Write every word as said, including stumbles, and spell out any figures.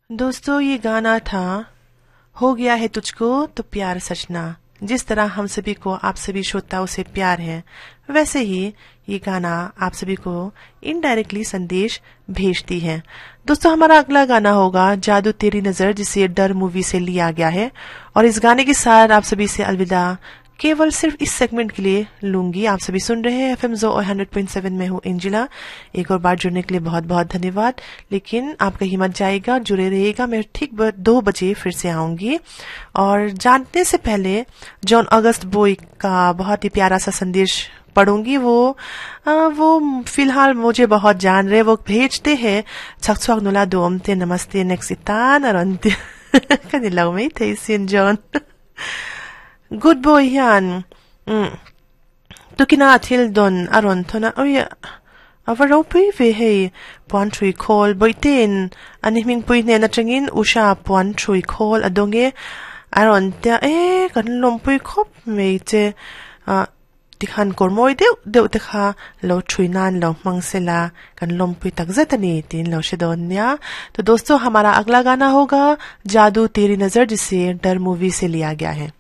दोस्तों, ये गाना था हो गया है तुझको तो प्यार सजना। जिस तरह हम सभी को आप सभी श्रोताओं से प्यार है, वैसे ही ये गाना आप सभी को इनडायरेक्टली संदेश भेजती है। दोस्तों, हमारा अगला गाना होगा जादू तेरी नजर, जिसे डर मूवी से लिया गया है। और इस गाने के साथ आप सभी से अलविदा केवल सिर्फ इस सेगमेंट के लिए लूंगी। आप सभी सुन रहे हैं एफ एम जो और hundred point seven में हूँ एंजिला। एक और बार जुड़ने के लिए बहुत बहुत धन्यवाद, लेकिन आप कहीं मत जाइएगा, जुड़े रहिएगा। मैं ठीक दो बजे फिर से आऊंगी। और जानने से पहले जॉन अगस्त बोई का बहुत ही प्यारा सा संदेश पढ़ूंगी। वो आ, वो फिलहाल मुझे बहुत जान रहे, वो भेजते हैं छक नुला दोमते नमस्ते नेक्स्ट इतान अरंते कनिलाउ थे सिन John good boy hian um tukina thil don aron thona oi ava pui ve hei puan thui khol boiten ani hming pui hnen atangin usha puan thui khol adonge aron tia e kan lom pui khop mei che a tikhan kor moi deuh deuh te kha lo thui nan lo mang sela kan lom pui tak zet ani tin lo she don nia। तो दोस्तों, हमारा अगला गाना होगा जादू तेरी नजर, जिसे डर मूवी से लिया गया है।